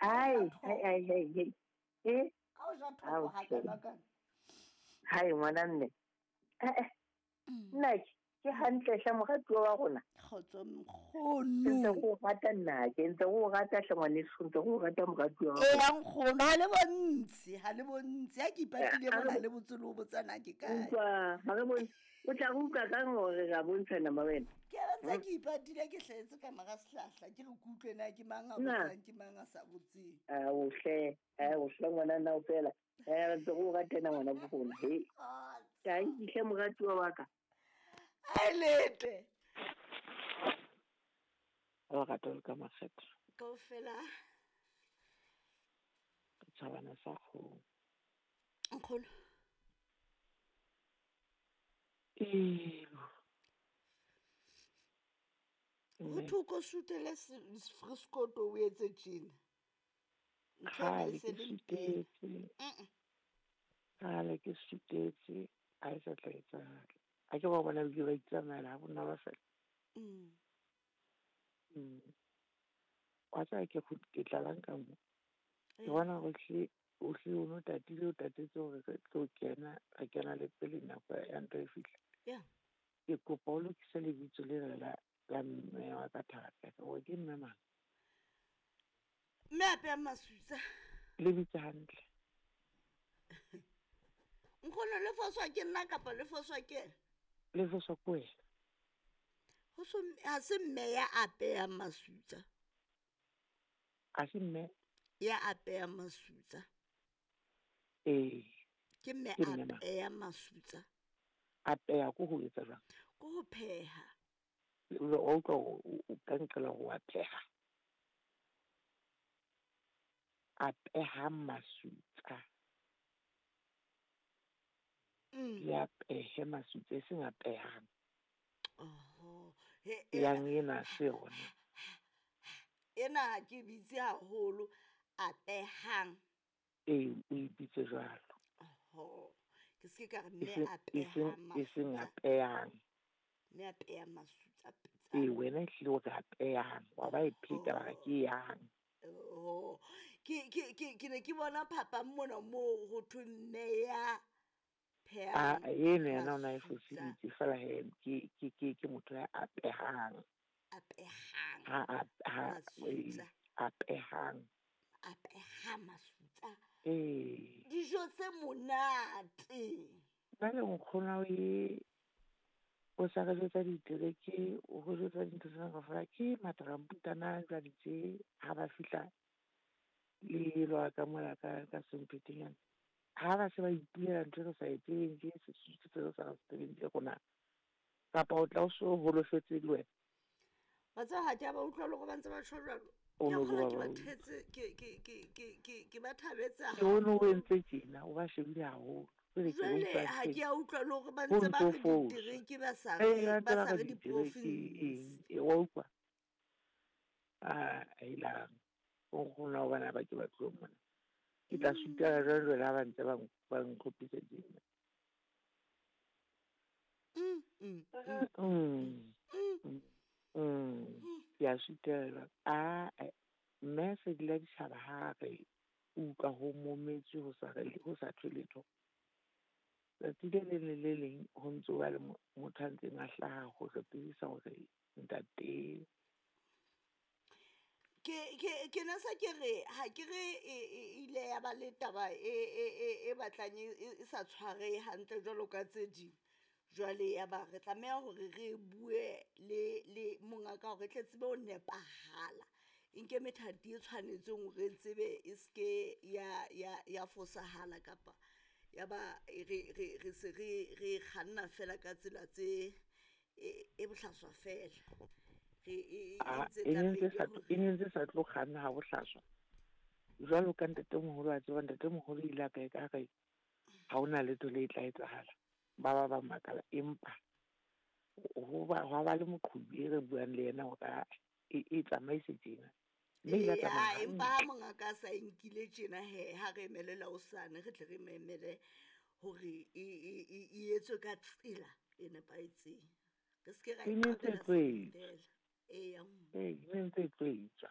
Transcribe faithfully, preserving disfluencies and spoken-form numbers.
Ai, ai, ai, ai, ai. Eh? Ka o ja thoko ha kana kana. Hai ngwana mme. Eh eh. Nna ke hantle hle moratuwa wa rona. Kgotso nkgono. Ntse go rata nna ke ntse go rata hle ngwaneso, ntse go rata moratuwa wa rona. Eh nkgono ha le bontsi, ha le bontsi. Ha ke ipatile mona le botse le o botsana ke kae. Utlwa, ha re bone. O tla re utlwa kang hore ra bontshana ma wena? Ke a ntse ke ipatile ke hletse ka mara sehlahla ke re kutlwe na ke mang a botsang ke mang a sa botseng. Ah o hle, ah o hle ngwana nna o fela. Eh ntse go ratana ngwana bo rona. He. Kae hle moratuwa wa ka. Ai lete. O rata le ka makgetho. Kaofela. Tjhabana sa kgomo. Nkgono. Ee. Ho thoko sutele freskoto o etse tjena. Ntho e se le mpele. Kgale ke sutetse, a e sa tla etsahala. A ke ba bona ke ba itsamaela ha bona ba fela. Mm. Mm. Wa tseba ke ke tlalang ka mo. Ke bona hore hle o hle o no tatile o tatetse hore re tlo kena, re kena le pele nako ya ntho e fihla. Yeah. Ke kopa o lokise lebitso lena la la mme wa ka thata. Hore ke mme mang? Mme a peha masutsa. Lebitso hantle. Nkgono le foswa ke nna kapa le foswa ke ena? Le foswa ke wena. Ho so ha se mme ya apeha masutsa. Ha se mme ya apeha masutsa. Ee. Ke mme apeha masutsa. Apeha ko ho etsa jwang? Ko ho pheha. O utlwa o ka nqela ho a pheha. Apeha masutsa. Mm. Le apehe masutsa e seng apehang. Oho. He yang ena se yona. Ena ha ke bitse haholo apehang. Ee, o e bitse jwalo. Oho. Ke se ka re mme apehang masutsa. E seng apehang. Mme apehang masutsa pitsa. Ee, wena ehlile o re apehang. Wa ba e pheta ba re ke yang. Oh. Ke ke ke ke ne ke bona phapang mona moo ho thwe mme ya Ah, eno yena o na e foseditse fela he ke ke ke ke motho ya apehang. Apehang. Ha ha apehang. Apeha masutsa. Ee. Dijo tse monate. Nna le nkgono e o sa re jwetsa ditereke, o re jwetsa dintho tsena kaofela ke mataramputana jwale tje ha ba fihla le lwa ka mola ka ka semphetenyana. Ha ba se ba ipuela ntho e re sa e tsebeng ke Sesotho se re sa se tsebeng ke rona. Kapa o tla o so holofetse le wena. Wa tseba ha ke a ba utlwa le hore ba ntse ba tjho jwalo. Ke a kgolwa ke ba thetse ke ke ke ke ke ke ba thabetse Ke o no o entse tjena o ba shebile haholo. Jwale ha ke a utlwa le hore ba ntse ba re ditereke ba sa re ba sa re di-province. E wa utlwa. Ah, helang. O nkgono wa bana ba ke ba tlo mona. Ke tla sutela jwalo jwale ha ba ntse ba ba nkgopisa tjena. Mm, mm, mm. Mm. Mm. Ke a sutela. Ah, mme se dila ditjhaba ha re utlwa ho mometswe ho sa re ho sa thwe letho. Tsatsi le leng le le leng ho ntso ba le motho a ntseng a hlaha ho re tsebisa hore ntate Ke ke ke na sa ke re ha ke re e ile ya ba le taba e e e e batlang e sa tshware hantle jwalo ka tse ding. Jwale ya ba re tlameha hore re bue le le mongaka hore tle tsebe ho nepahala. E nke methati e tshwanetseng hore re tsebe e ske ya ya ya fosahala kapa ya ba re re re se re re kganna fela ka tsela tse e bohlaswa fela. E ne ntse sa tlo kganna ha bohlaswa. Jwalo ka ntatemoholo a tseba ntatemoholo ile a ka e ka re ha hona letho le tla etsahala. Ba ba ba makala empa ho ba hwa ba le moqhubi e re buang le yena hore e e tsamaise tjena. Mme ile a tsamaya. Empa ha mongaka a sa e nkile tjena he ha re emelela hosane re tle re memele hore e e e etswe ka tsela e nepahetseng. Re ske ra E ne ntse e iqabela tlo etswa. fela. Eya. Ee, e ne ntse e tlo etswa.